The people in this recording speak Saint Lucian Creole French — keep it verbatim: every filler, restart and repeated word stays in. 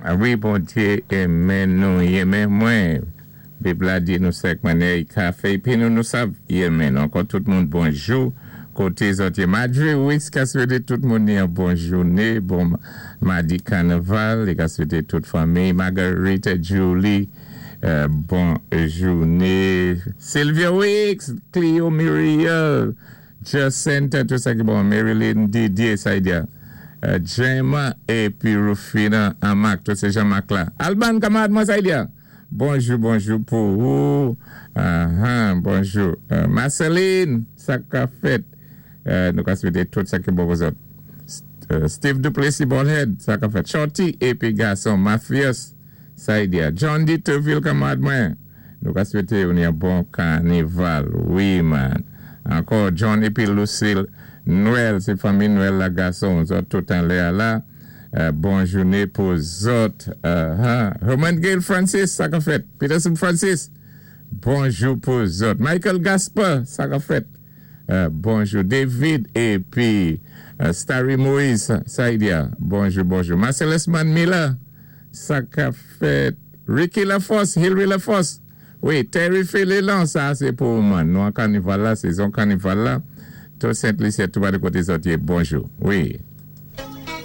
Wi, Bondyé enmen nou, i enmen mwen. Bib la di nou sèk mannyè i ka fè, épi nou nou sav i enmen nou. Ankò tout moun bonjou. Koté zòt yé Madre Wix ka swété tout moun yon bon jouné, bon madi kanaval, i ka swété tout fanmi. Margarita Julie, euh, bon jouné. Sylvia Wix, Cleo Muriel, Jacinta, tout sa ki bon. Marilyn Didier, sa y di. Euh, Gemma épi Rufina Amak, tout sé Jean-Marc la. Alban, kanmarad mwen, sa y di. Bonjou, bonjou pou ou. Uh-huh, bonjou. Euh, Marceline, sa ka fèt. Euh, nou ka swété tout sa ki bon pou zòt. Euh, Steve Duplessis Ballhead, sa ka fèt. Shorty épi gason Mafias, sa y di. John D. Teville, kanmarad mwen. Nou ka swété ou yon bon kanaval. Wi, man. Ankò John épi Lucille Noël, sé fanmi Noël la gason, zòt tout anlè la. Euh, bon jouné pou zòt. Uh, huh. Herman Gale Francis, sa ka fèt. Peterson Francis, bonjou pou zòt. Michael Gasper, sa ka fèt. Euh, bonjou David épi euh, Starry Moïse, sa y di. Bonjou, bonjou. Marcellus Miller, sa ka fèt. Ricky Lafosse, Hillary Lafosse. Wi, Terry Félélan, sa sé pou mwen. Nou an kanaval la, sézon kanaval la. Tout Sent-Lisi, tout ba de koté zòt yé, bonjou. Wi.